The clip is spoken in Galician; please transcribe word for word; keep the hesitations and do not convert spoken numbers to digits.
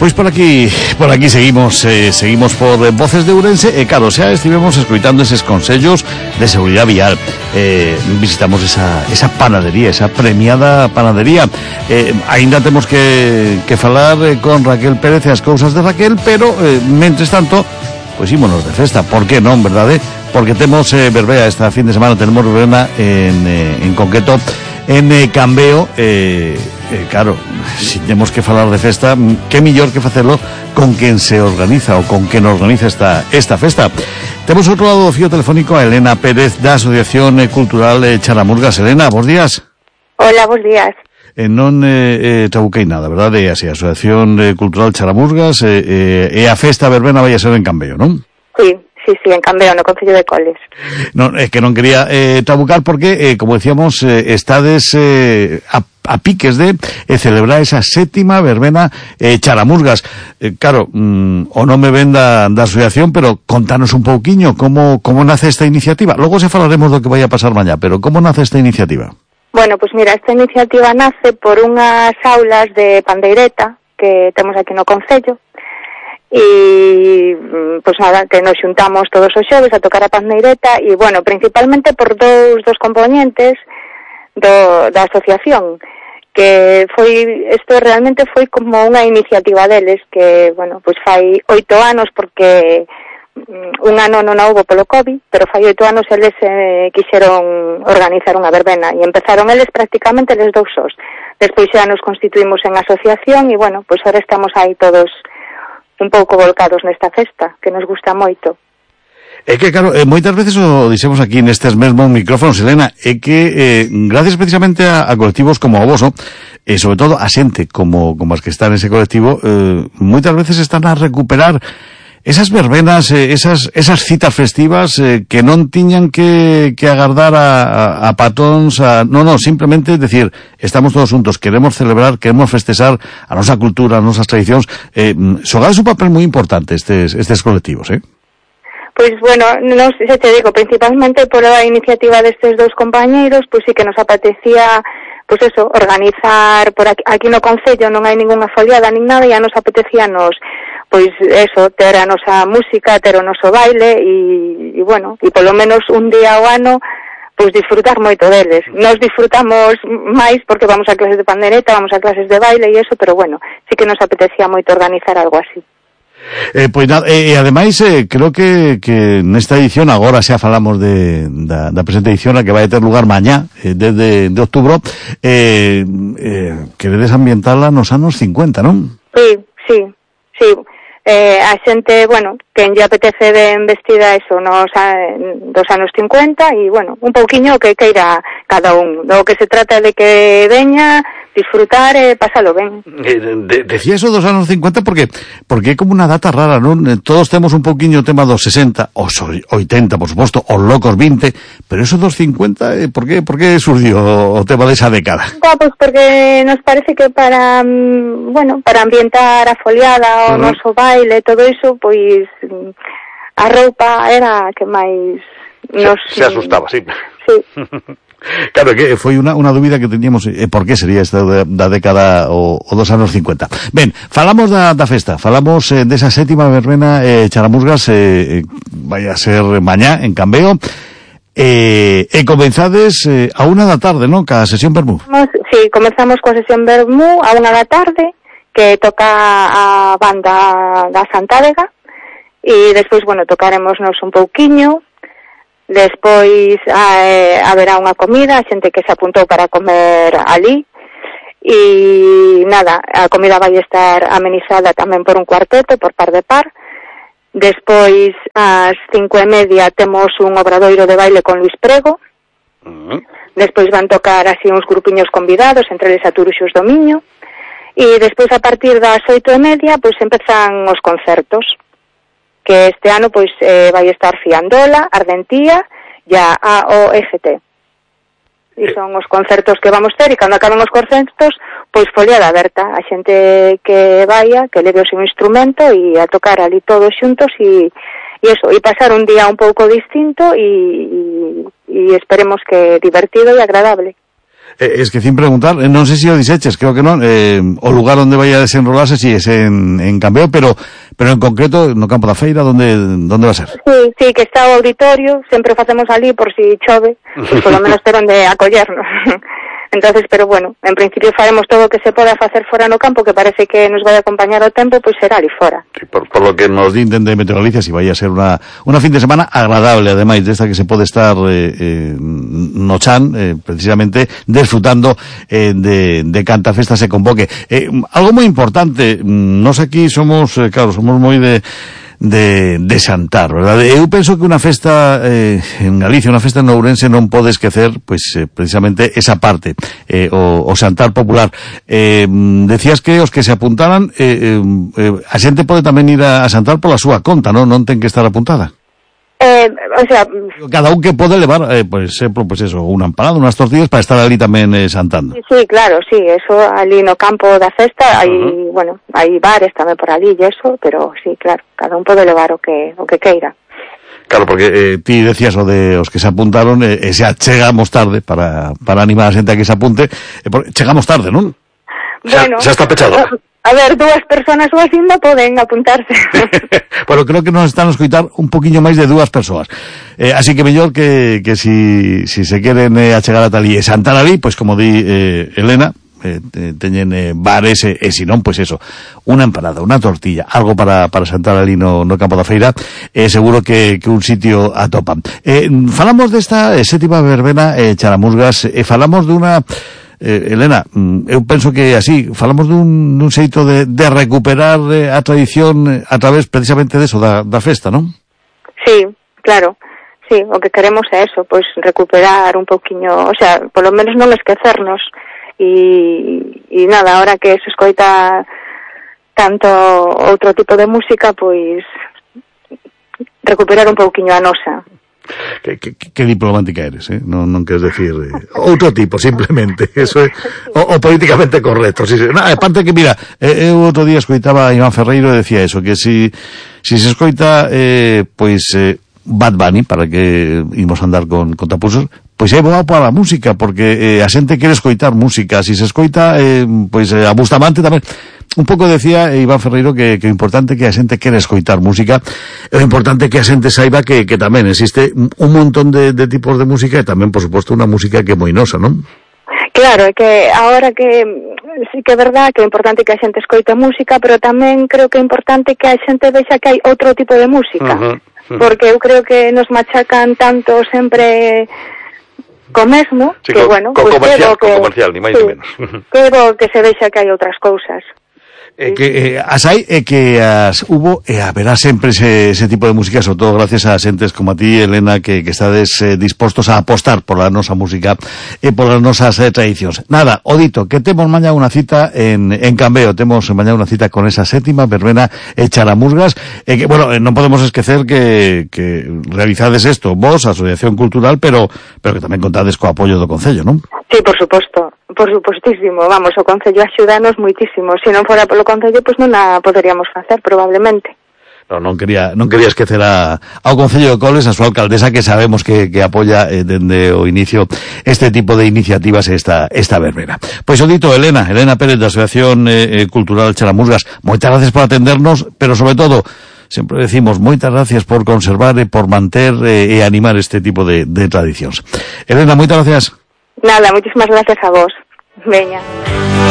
Pois por aquí, por aquí seguimos, eh, seguimos por eh, Voces de Ourense e claro, xa estivemos escoitando eses consellos de seguridade vial. Eh, visitamos esa, esa panadería, esa premiada panadería. Eh, ainda temos que, que falar eh, con Raquel Pérez e as cousas de Raquel, pero, eh, mentres tanto, pois ímonos de festa. Por que non, verdade? Porque temos eh, verbea esta fin de semana, tenemos verbena en, eh, en concreto en eh, Cambeo. eh, eh, claro, si temos que falar de festa, que millor que facelo con quen se organiza ou con quen organiza esta, esta festa. Temos outro lado do fío telefónico a Elena Pérez da Asociación Cultural eh, Charamurgas. Elena, bons días. Hola, bons días. Eh, non eh, eh, trabuquei nada, verdade? É así, a Asociación eh, Cultural Charamurgas eh, eh, e a festa verbena vai a ser en Cambeo, non? Sí. Sí, sí, en Cambeo, no Concello de Coles. Non, é que non quería eh, trabucar porque, eh, como decíamos, eh, estades eh, a, a piques de eh, celebrar esa sétima verbena eh, Charamurgas. Eh, claro, mm, o non me ven da, da asociación, pero contanos un pouquiño como, como nace esta iniciativa. Logo se falaremos do que vai a pasar mañá, pero como nace esta iniciativa? Bueno, pues mira, esta iniciativa nace por unhas aulas de pandeireta que temos aquí no Concello. E, pois nada, que nos xuntamos todos os xoves a tocar a pandeireta e, bueno, principalmente por dous dos componentes do, da asociación, que foi, isto realmente foi como unha iniciativa deles, que, bueno, pois fai oito anos, porque un ano non houbo polo COVID, pero fai oito anos eles eh, quixeron organizar unha verbena, e empezaron eles prácticamente eles dous sós. Despois xa nos constituímos en asociación e, bueno, pois ahora estamos aí todos un pouco volcados nesta festa, que nos gusta moito. É que, claro, eh, moitas veces o dixemos aquí nestes mesmos micrófonos, Elena, é que eh, gracias precisamente a, a colectivos como o voso, e sobre todo a xente como, como as que están nese colectivo, eh, moitas veces están a recuperar esas verbenas, eh, esas, esas citas festivas eh, que non tiñan que, que agardar a, a, a patóns, a, no, no, simplemente decir, estamos todos juntos, queremos celebrar, queremos festexar a nosa cultura, as nosas tradicións. Eh, xogades un papel moi importante estes, estes colectivos, eh? Pois, bueno, non sei se te digo, principalmente por a iniciativa destes dous compañeiros, pois sí que nos apetecía, pois eso, organizar por aquí, aquí no Concello non hai ningunha foliada nin nada, e a nos apetecía nos, pois eso, ter a nosa música, ter o noso baile e, e bueno, e polo menos un día ao ano pois disfrutar moito deles. Nos disfrutamos máis porque vamos a clases de pandereta, vamos a clases de baile e eso, pero bueno, sí que nos apetecía moito organizar algo así. Eh, pois nada, e eh, ademais eh, creo que, que nesta edición, agora xa falamos de, da, da presente edición a que vai ter lugar mañá, eh, desde de outubro, eh, eh, queredes ambientala nos anos cincuenta, non? Sí, sí, sí. Eh, a xente, bueno, que lle apetece ben vestida eso nos a, dos anos cincuenta e, bueno, un pouquiño que queira cada un. Do que se trata de que veña, disfrutar e pasalo ben. Eh, de, decía eso dos anos cincuenta porque porque é como unha data rara, non? Todos temos un pouquiño o tema dos sesenta, os oitenta, por suposto, os locos vinte, pero eso dos cincuenta, eh, por que por que surdiu o, o tema desa década? Ah, pois porque nos parece que para, bueno, para ambientar a foliada, o uh-huh. noso baile, todo iso, pois a roupa era a que máis nos... Se, se asustaba, sí. Sí. Claro, que foi unha, unha dúbida que teníamos, eh, por que sería esta da, da década o, o dos anos cincuenta. Ben, falamos da, da festa, falamos eh, desa sétima verbena eh, Charamurgas, eh, vai a ser mañá en Cambeo, eh, e comenzades eh, a unha da tarde, non? Ca sesión Vermú. Sí, comenzamos coa sesión Vermú a unha da tarde, que toca a banda da Santádega, e despois, bueno, tocaremosnos un pouquiño. Despois eh, haberá unha comida, a xente que se apuntou para comer ali, e nada, a comida vai estar amenizada tamén por un cuarteto, por par de par. Despois, ás cinco e media, temos un obradoiro de baile con Luis Prego. Uh-huh. Despois van tocar así uns grupiños convidados, entre eles a Turuxos do Miño, e despois a partir das oito e media, pois empezan os concertos, que este ano pois eh, vai estar Fiandola, Ardentía e a A O F T. E son os concertos que vamos ter, e cando acaben os concertos, pois foliada aberta, a xente que vaya, que leve o seu instrumento e a tocar ali todos xuntos e, e eso, e pasar un día un pouco distinto e, e, e esperemos que divertido e agradable. Eh, es que sin preguntar, eh, non sei se o diseches, creo que non, eh, o lugar onde vai a desenrolarse si es en, en Cambeo, pero pero en concreto no campo da feira, onde onde va a ser? Sí, sí, que está o auditorio, sempre facemos ali por si chove, pues polo menos ter onde acollernos. Entonces, pero bueno, en principio faremos todo o que se poda facer fora no campo, que parece que nos vai a acompañar o tempo, pois será ali fora. Sí, por, por lo que nos din de Meteo Galicia, si vai a ser unha, unha fin de semana agradable, ademais desta que se pode estar eh, eh, no chan, eh, precisamente desfrutando eh, de, de canta festa se convoque. Eh, algo moi importante, nos aquí somos, eh, claro, somos moi de de, de xantar, verdad? Eu penso que unha festa eh, en Galicia, unha festa en Ourense non pode esquecer, pois, eh, precisamente esa parte, eh, o, o xantar popular. Eh, decías que os que se apuntaran, eh, eh, a xente pode tamén ir a, a xantar pola súa conta, non? Non ten que estar apuntada. Eh, o sea, cada un que pode levar, eh, por exemplo, pues eso, unha empanada, unhas tortillas para estar ali tamén eh, xantando. Sí, sí, claro, sí, eso ali no campo da festa, hai, uh-huh. bueno, hai bares tamén por ali e eso, pero sí, claro, cada un pode levar o que o que queira. Claro, porque eh, ti decías o de os que se apuntaron, eh, e xa chegamos tarde para, para animar a xente a que se apunte, eh, por, chegamos tarde, non? Bueno, xa, xa está pechado. A ver, dúas persoas ou así non poden apuntarse. Bueno, creo que nos están a escoitar un poquinho máis de dúas persoas. Eh, así que mellor que, que si, si se queren eh, achegar a tal e xantar ali, pois como di eh, Elena, eh, teñen eh, bares e, e si non, pois eso, unha empanada, unha tortilla, algo para, para xantar ali no, no campo da feira, eh, seguro que, que un sitio atopan. Eh, falamos desta eh, sétima verbena eh, Charamusgas, e eh, falamos dunha... Eh, Elena, eu penso que así falamos dun, dun xeito de, de recuperar eh, a tradición a través precisamente de eso, da, da festa, non? Sí, claro, sí, o que queremos é eso, pois recuperar un pouquiño, o sea, polo menos non esquecernos e, e nada, ahora que se escoita tanto outro tipo de música, pois recuperar un pouquiño a nosa. Que, que, que diplomática eres, eh? Non, non queres decir eh, outro tipo, simplemente eso é o, o políticamente correcto. Si, no, aparte que, mira, eh, eu outro día escoitaba a Iván Ferreiro e decía eso, que si, si se escoita eh, pois eh, Bad Bunny, para que imos andar con, con tapusos, pois é boa para a música, porque eh, a xente quere escoitar música. Si se escoita eh, pois eh, a Bustamante tamén. Un pouco decía Iván Ferreiro que, que o importante que a xente quere escoitar música, é o importante que a xente saiba que, que tamén existe un montón de, de tipos de música e tamén, por suposto, unha música que é moi nosa, non? Claro, é que agora que sí que é verdad que é importante que a xente escoite música, pero tamén creo que é importante que a xente vexa que hai outro tipo de música, uh-huh, uh-huh. Porque eu creo que nos machacan tanto sempre co mesmo, sí, que co, bueno, co pues comercial, que, co comercial, ni máis sí, ni menos. Que bo que se vexa que hai outras cousas. Eh, que eh, as hai e que as hubo e haberá sempre ese, ese tipo de música, sobre todo gracias a xentes como a ti, Elena, que, que estades eh, dispostos a apostar por a nosa música e por as nosas eh, tradicións. Nada, o dito, que temos mañá unha cita en, en Cambeo, temos mañá unha cita con esa sétima verbena e Charamusgas, e que, bueno, non podemos esquecer que, que realizades isto, vos, a Asociación Cultural, pero, pero que tamén contades co apoio do Concello, non? Sí, por suposto, por supostísimo, vamos, o Concello axudanos moitísimo, se non fora polo Concello, pois non a poderíamos facer, probablemente. No, non quería, non quería esquecer a, ao Concello de Coles, a súa alcaldesa, que sabemos que, que apoia eh, dende o inicio este tipo de iniciativas, esta, esta verbena. Pois o dito, Elena, Elena Pérez, da Asociación eh, Cultural Charamusgas, moitas gracias por atendernos, pero sobre todo, sempre decimos, moitas gracias por conservar e por manter eh, e animar este tipo de, de tradicións. Elena, moitas gracias. Nada, muchísimas gracias a vos. Veña.